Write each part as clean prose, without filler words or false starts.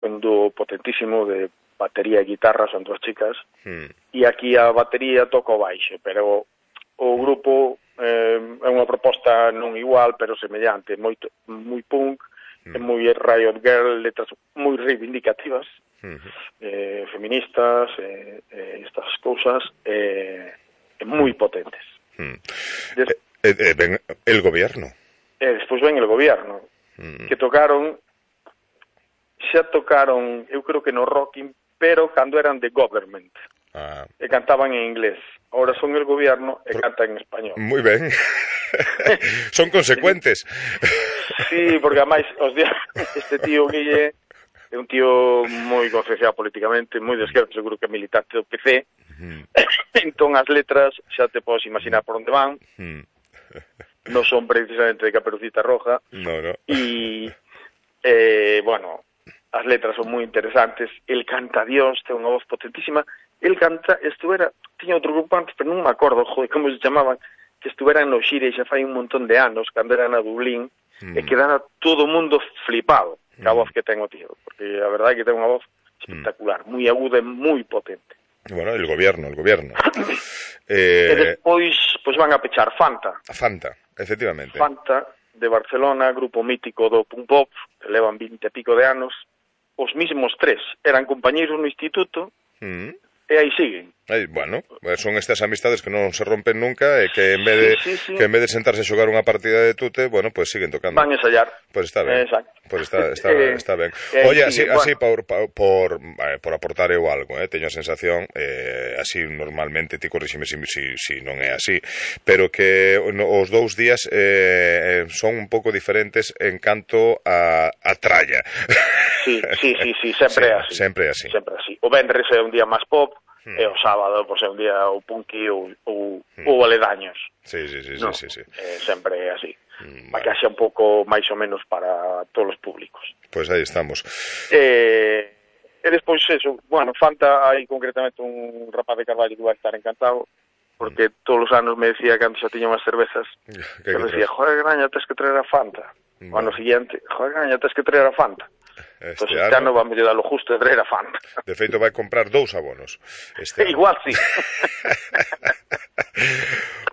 un dúo potentísimo de batería e guitarra, son dos chicas, e aquí a batería toca o baixo, pero o grupo é unha proposta non igual, pero semellante, moi punk, moi Riot Girl, letras moi reivindicativas, feministas, estas cousas, moi potentes. Ven el gobierno. Despois ven el gobierno, que tocaron, xa tocaron, eu creo que no Rocking, pero cando eran The Government, e cantaban en inglés. Ahora son el gobierno e cantan en español. Moi ben. Son consecuentes. Sí, porque ademais este tío Guille é un tío moi concienciado políticamente, moi de esquerda, seguro que é militante do PC. Entón as letras xa te podes imaginar por onde van. Non son precisamente de Caperucita Roja. No. E bueno, as letras son moi interesantes. El canta Dios, ten unha voz potentísima. El canta, tiña outro grupo antes, pero non me acordo, como se chamaban, que estuveran no Xire xa fai un montón de anos, cando eran a Dublín, e quedara todo o mundo flipado ca voz que ten o tío, porque a verdade é que ten unha voz espectacular, moi aguda e moi potente. Bueno, el gobierno. E despois pues van a pechar Fanta, efectivamente. Fanta, de Barcelona, grupo mítico do punk pop, que levan 20 e pico de anos, os mismos tres, eran compañeiros no instituto, e aí siguen. Bueno, son estas amistades que non se rompen nunca e que en vez de sentarse a xogar unha partida de tute, bueno, pues siguen tocando. Van a ensayar. Pues está ben. Exacto. Pues está ben. Oye, así por aportar eu algo, teño a sensación, así normalmente, ti corríxeme si non é así, pero que os 2 días son un pouco diferentes en canto a tralla. Sí, sempre é así. O vendres é un día máis pop, e o sábado pois é un día o punky ou aledaños. Sí. Sempre é así. Para que haxa un pouco máis ou menos para todos os públicos. Pois aí estamos. E despois eso, bueno, Fanta, hai concretamente un rapaz de Carballo que vai estar encantado, porque todos os anos me decía, cando xa tiña unhas cervezas, que decía, joder, graña, tens que traer a Fanta. O ano siguiente, joder, graña, tens que traer a Fanta. Entón, este ano vamos a dar lo justo de traer a Fanta. De feito, vai comprar 2 abonos. Igual, sí.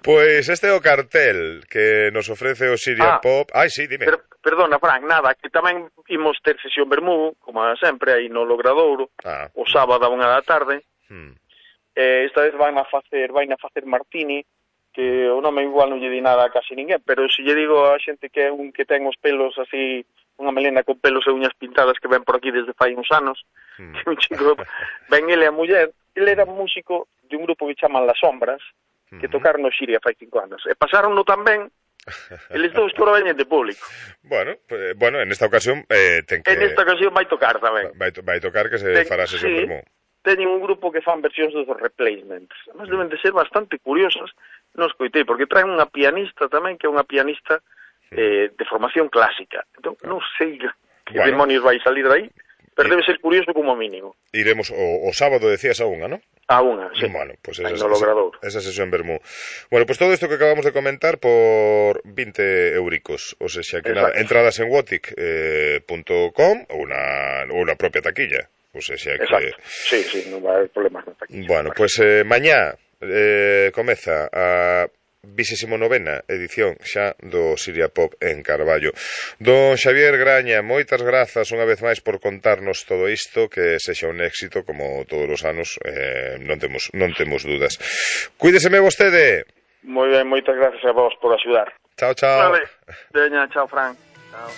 Pois este é o cartel que nos ofrece o Siria Pop. Ai, sí, dime. Perdona, Fran, nada, que tamén imos ter sesión Bermú, como sempre, aí no Logradouro, o sábado a 1 da tarde. Esta vez vai a facer Martini, que o nome igual non lle di nada a casi ninguén, pero se lle digo a xente que é un que ten os pelos así, unha melena con pelos e uñas pintadas que ven por aquí desde fai uns anos, que un chico, ven ele a muller, ele era músico de un grupo que chaman Las Sombras, que tocaron no Xiria fai 5 anos, e pasaron tan ben, eles dous que ora veñen de público. Bueno, en esta ocasión ten que... En esta ocasión vai tocar tamén. Vai tocar que se fará sesión Bermú. Teñen un grupo que fan versións dos Replacements. Además deben de ser bastante curiosas, non escoitei, porque traen unha pianista tamén, que é unha pianista de formación clásica. Entón, non sei que demonios vai salir de aí, pero debe ser curioso como mínimo. Iremos o sábado, decías, a 1, ¿no? A 1, sí. Bueno, pues esa sesión Bermú. Bueno, pues todo esto que acabamos de comentar por 20 euricos. O sea, que nada, entradas en wotic.com ou na propia taquilla. O sea, que... Sí, non vai haber problemas na taquilla. Bueno, pues mañá comeza a 29ª edición xa do Siria Pop en Carballo. Don Xavier Graña, moitas grazas unha vez máis por contarnos todo isto, que sexa un éxito como todos os anos, non temos dudas. Cuídeseme vostede. Moi ben, moitas gracias a vos por axudar. Chao. Vale. Veña, chao, Fran. Chao.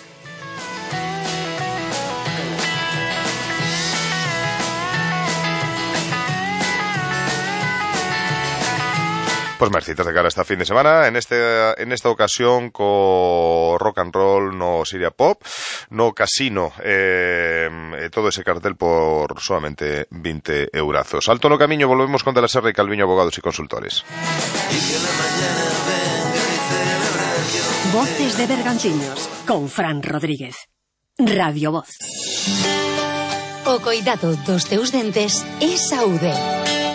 Pois máis citas de cara esta fin de semana, en esta ocasión co rock and roll no Siria Pop, no casino, todo ese cartel por solamente 20 eurazos. Alto no camiño, volvemos con De la Serra y Calviño, abogados y consultores. Voces de Bergantiños, con Fran Rodríguez. Radio Voz. O coidado dos teus dentes é saúde.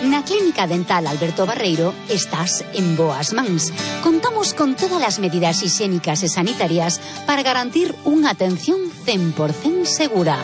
Na Clínica Dental Alberto Barreiro estás en boas mans. Contamos con todas as medidas hixiénicas e sanitarias para garantir unha atención 100% segura.